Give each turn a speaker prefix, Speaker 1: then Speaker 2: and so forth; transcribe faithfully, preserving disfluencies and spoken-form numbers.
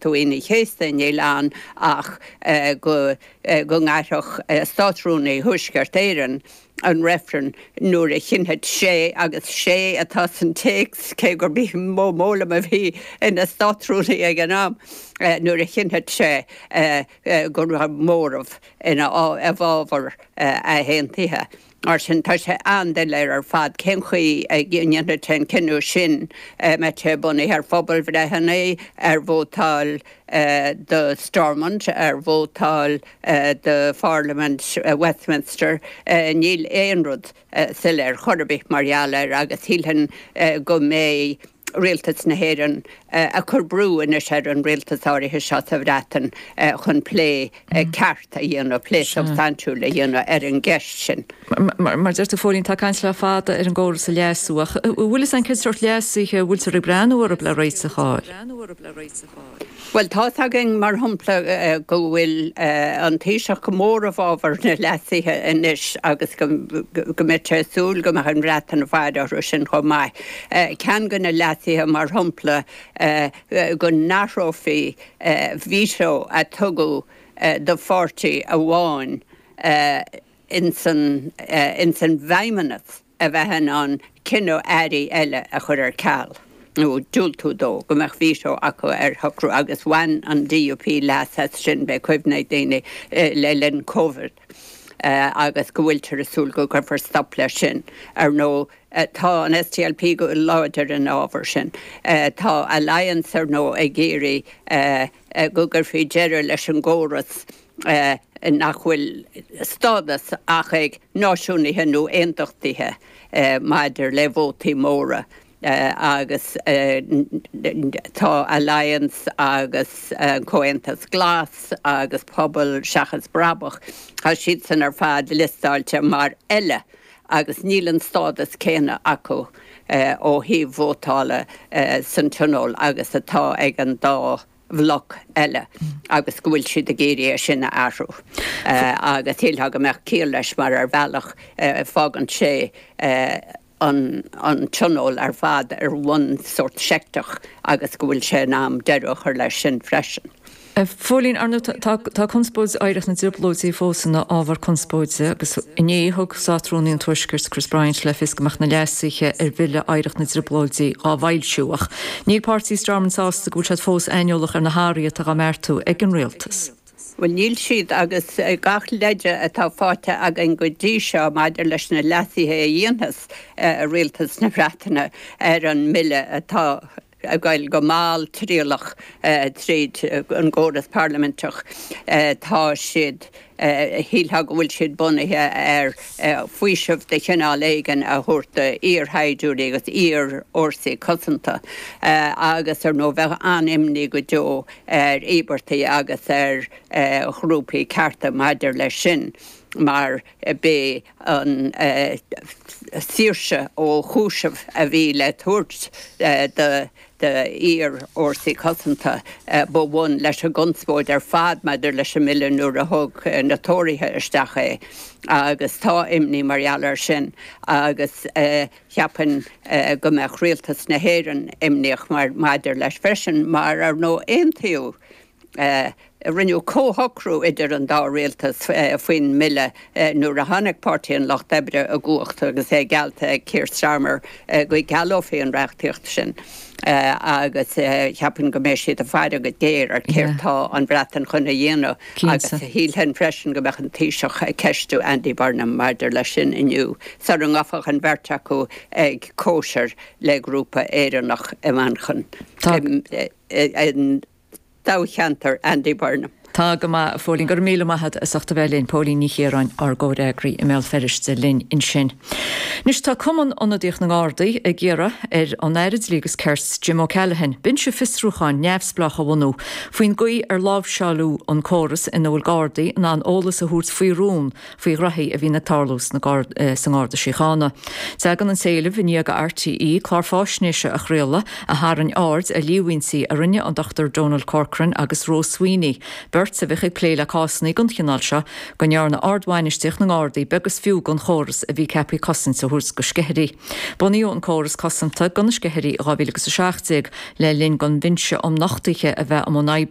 Speaker 1: Aoine an Chéasta, níl ann ach go go ngairfeadh Státrúnaí Thuaisceart Éireann an reifreann nuair a chinnfidh sé, agus 'sé' atá san téacs, cé gurb í Mo Mowlam a bhí ina Státrúnaí ag an am, nuair a chinnfidh sé go raibh móramh ina i bhfabhar athaontaithe. Mar sin, tá sé an-doiléir ar fad cén chaoi a ndéanfaidh sé an cinneadh sin, mbeidh sé bunaithe ar phobalbhreitheanna, ar vótáil do Stormont, ar vótáil do Pharlaimint Westminster. Níl aon rud soiléir chor ar bith mar gheall air agus shílfinn go mbeidh Rialtas na hÉireann ag cur brú anois ar an rialtas áirithe seo sa Bhreatain chun plé ceart a dhéanamh, plé substaintiúil a dhéanamh ar an gceist sin.
Speaker 2: Mar deir tú, Phóilín, tá caint le fada ar an gcóras a leasú, ach an bhfuil fhios againn cén sórt leasuithe a bhfuiltear ag breathnú orthu le réiteach a fháil?
Speaker 1: Bhuel, tá's againn, mar shampla, go bhfuil an Taoiseach go mór i bhfabhar na leasuithe anois agus go mbeidh sé ag súil go mbeadh an Bhreatain ag faire orthu sin chomh maith. Ceann de na leasuithe, mar shampla, go n-athrófaí veto a tugadh do pháirtí amháin ins an bhFeidhmeannas a bheith in ann cinneadh airí eile a chur ar ceal nó diúltú dó, go mbeadh veto acu ar shocrú agus bhain an D U P leas as sin, beidh cuimhne ag daoine, le linn Covid agus go bhfuiltear ag súil go gcuirfear stop leis sin. Ar ndóigh, tá an S D L P go láidir ina fhábhar sin. Tá Alliance, ar ndóigh, ag iarraidh go gcuirfí deireadh leis an gcóras nach bhfuil stádas ach ag náisiúnaithe nó aontachtaithe maidir le vótaí móra agus tá Alliance agus Comhaontas Glas agus Pobal Seachas Brabach, tá siadsan ar fad liostáilte mar 'eile' agus níl an stádas céanna acu ó thaobh vótála san Tionól agus atá ag an dá bhloc eile agus go bhfuil siad ag iarraidh é sin a athrú agus shílfeá go mbeadh ciall leis mar ar bhealach fágann sé an an Tionól ar fad ar bhonn sórt seicteach agus go bhfuil sé in am deireadh a chur leis sin freisin.
Speaker 2: A Phóilín, ar ndóigh tá conspóid Oidhreacht na dTrioblóidí fós ina ábhar conspóide agus inné thug Státrúnaí an Tuaiscirt Chris Bryant le fios go mbeadh na leasuithe ar bhille Oidhreacht na dTrioblóidí á bhfoilsiú ach níl páirtí Stormont sásta go bhfuil siad fós aineolach ar na hathruithe atá á mbeartú ag an rialtas.
Speaker 1: Bhuel, níl siad agus gach leide atá faighte againn go dtí seo maidir leis na leasuithe a dhéanfas rialtas na Breataine ar an mbille atá ag goil go mall trialach tríd an gcóras parlaiminteach, tá siad, shílfeá go bhfuil siad bunaithe ar faoiseamh de chineál éigin a thabhairt d'iarshaighdiúirí agus iarfhórsaí cosanta agus ar ndóigh bheadh an-imní go deo ar íobartaigh agus ar ghrúpaí cearta maidir leis sin mar b'é an saoirse ó chúiseamh a bhí le tabhairt do d'iarfhórsaí cosanta ba bhun leis an gconspóid ar fad maidir leis an mbille nuair a thug na Tóraithe isteach é agus tá imní mar gheall air sin agus cheapfainn go mbeadh rialtas na hÉireann imníoch mar maidir leis freisin mar ar ndóigh aontaíodh rinneadh comhshocrú idir an dá rialtas faoin mbille nuair a tháinig Páirtí an Lucht Oibre i gcumhacht agus é geallta ag Keir Starmer go gcealófaí an reachtaíocht sin agus cheapfainn go mbeidh siad ag faire go géar ar céard tá an Bhreatain chun a dhéanamh agus shílfinn freisin go mbeadh an Taoiseach ag ceistiú Andy Burnham maidir leis sin inniu sara ngabhfadh an bheirt acu ag cóisir le grúpa Éireannach i Manchain. Toghcheantar Andy Burnham.
Speaker 2: Tá go maith, a Phóilín, go raibh míle maith agat as ucht a bheith linn. Póilín Ní Chiaráin, ár gcomhfhreagraí i mBéal Feirste linn ansin. Anois tá Cumann Ionadaíoch na nGardaí ag iarraidh ar an Aire Dlí agus Cirt Jim O'Callaghan binse fiosrúcháin neamhspleách a bhunú faoin gcaoi ar láimhseáladh an córas ina bhfuil Gardaí in ann eolas a thabhairt faoi rún faoi ghraithí a bhíonn ag tarlú sa nGarda Síochána. Tagann an t-éileamh i ndiaidh do R T E clár faisnéise a chraoladh a tharraing aird ar líomhaintí a rinne an Dochtúir Donald Corcoran agus Rose Sweeney, beirt Cirt a bheadh ag plé le cásanna den chineál seo go ndearna ardbhainistíocht na nGardaí beag is fiú den chóras a bhí ceaptha cosaint a thabhairt do sceithirí. Bunaíodh an córas cosanta do na sceithirí dhá mhíle agus a seacht déag le linn don Bhinse um Nochtuithe a bheith i mbun oibre.